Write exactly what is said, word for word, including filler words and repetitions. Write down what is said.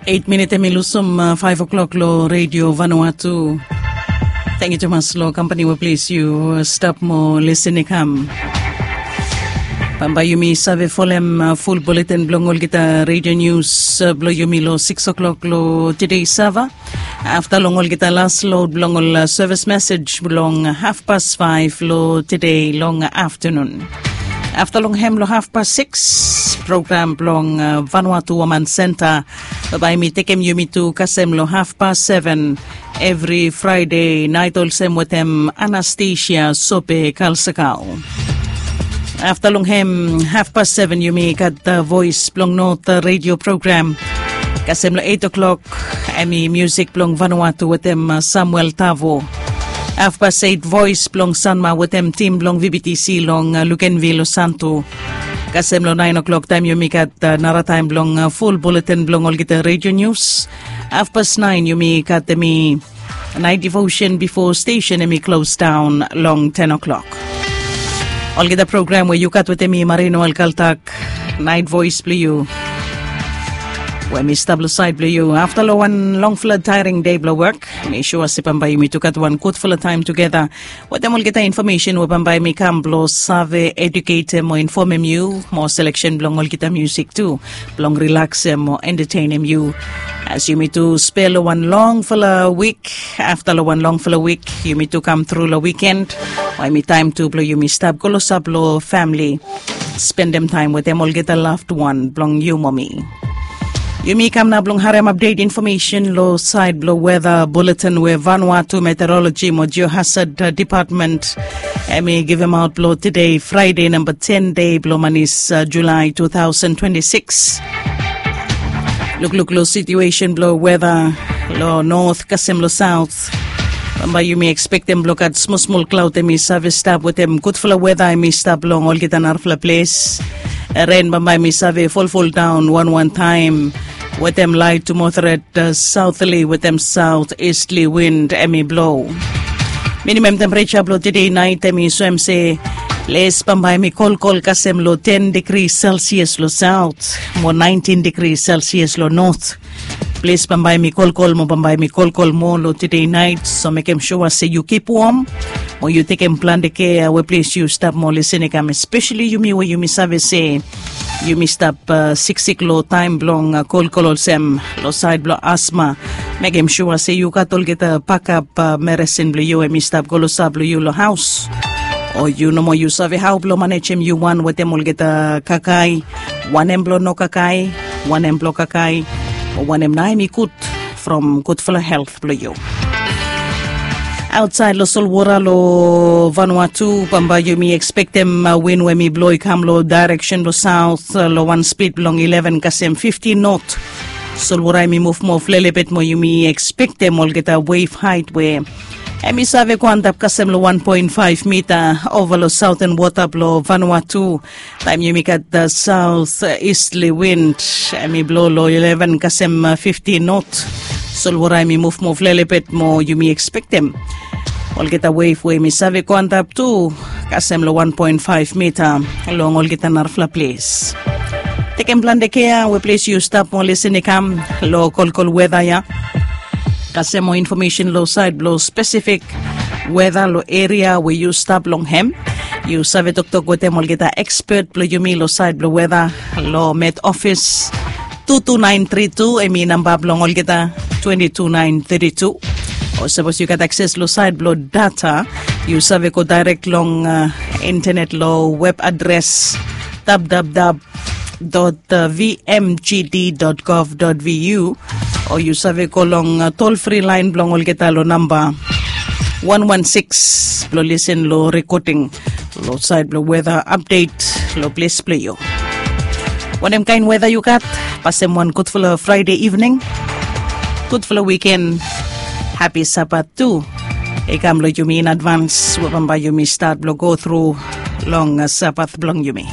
Eit minit em i lusum faef o'klok long redio Vanuatu. Tangkiu tumas long kampani we ples yu stap mo lisin i kam. Bambae yumi save folem ful buletin blong olgeta redio nius blong yumi long sikis o'klok long tede sava. Afta long olgeta las lod blong ol sevis mesej blong hafpas faef long tede long aftanun. Afta long hem long hafpas sikis, program blong Vanuatu Woman Senta bae mi tekem yumi tu kasem long hafpas seven evri Fraede naet olsem wetem Anastasia Sope Kalsakao. Afta long hem hafpas seven yumi gat Voes blong Not redio program. Kasem long eit o'klok em i musik blong Vanuatu wetem Samuel Tavo. Hafpas eit Voes blong Sanma wetem tim blong VBTC long Lukenvil Santu. Kasem long naen o'klok taem yumi gat narataem blong ful buletin blong olgeta redio nius. Hafpas naen yumi gat em i naet devosen bifo stesen em i klos daon long ten o'klok. Olgeta program we yu gat wetem mi Marino Alkaltak, naet voes blong yu we mi stap long saed blong yu afta long wan longfala taering dei blong wok. Mi sua se bambae yumi tu gat wan gudfala taem tugeta wetem olgeta infomesen we bambae mi kam blong save eduketem o infomem yu mo seleksen blong olgeta musik tu blong rilaksem o entatenem yu. As yumi tu spel long wan longfala wik, afta long wan longfala wik yumi tu kam tru long wiken, we em i taem tu blong yumi stap go losap long famili, spendem taem wetem olgeta laved wan blong yu mo mi. Yumi kam nao blong harem apdet infomesen long saed blong weta buletin we Vanuatu Meteoroloji mo Geohazad Depatmen em i givemaot blong tede Fraede namba ten dei blong manis Julae tu taosen twenti sikis. Lukluk long situesen blong weta long not kasem long saot. Bambae yumi ekspektem blong gat smolsmol klaod em i save stap wetem gudfala weta em i stap long olgeta narafala ples. Ren bambae em i save folfoldaon wanwan taem wetem laet tu moderet saotli wetem saot istli win em i blo. Minimam tempereja blong tede naet em i soem se ples bambae em i kolkol kasem long ten digri selsias long saot mo naentin digri selsias long not. Ples bambae em i kolkol mo bambae em i kolkol moa long tede naet, so mekem sua se yu kip wom mo yu tekem plante kea we ples yu stap mo lisin i kam, espeseli yumi we yumi save se yumi stap siksik long taem blong kolkol olsem long saed blong asma. Mekem sua se yu gat olgeta bakap meresin blong yu em i stap go long sap blong yu long haos. O yu nomo yu save hao blong manejem yu wan wetem olgeta kakae, wanem blong no kakae, wanem blong kakae, o wanem nao em i gud from gudfala helt blong yu. Aotsaed long solwora long Vanuatu bambae yumi ekspektem win we mi blo i kam long daereksen blong saot long wan spid blong ileven kasem fifti not. Solwora em i muvmuv lelebet mo yumi ekspektem olgeta wef haet we em i save go antap kasem long wan poen faef mita ova long saoten wota blong Vanuatu. Taem yumi gat saot istli win em i blo long ileven kasem fifti not. Solwora em i muvmuv lelebet mo yumi ekspektem olgeta wef we em i save go antap tu kasem long wan poen faef mita long olgeta narafala ples. Tekem plante kea we ples yu stap mo lisin i kam long kolkol weta ya. Kasem mo infomesen long saed blong spesifik weta long eria we yu stap long hem. Yu save toktok wetem olgeta ekspet blong yumi long saed blong weta long Met Ofis. Tu tu naen tri tu em i namba blong olgeta, twenti tu naen teti tu. O sapos yu gat akses long saed blong data, yu save go daerek long intenet long web adres www dot vmgd dot gov dot vu, o yu save go long tol fri laen blong olgeta long namba wan wan sikis blong lisin long rekoding long saed blong weta apdet long ples blong yu. Wanem kaen weta yu gat? Pasem wan gudfala Fraede ivning, gudfala wiken, hapi Sabat tu i kam long yumi in advans we bambae yumi stat blong go tru long Sabat blong yumi.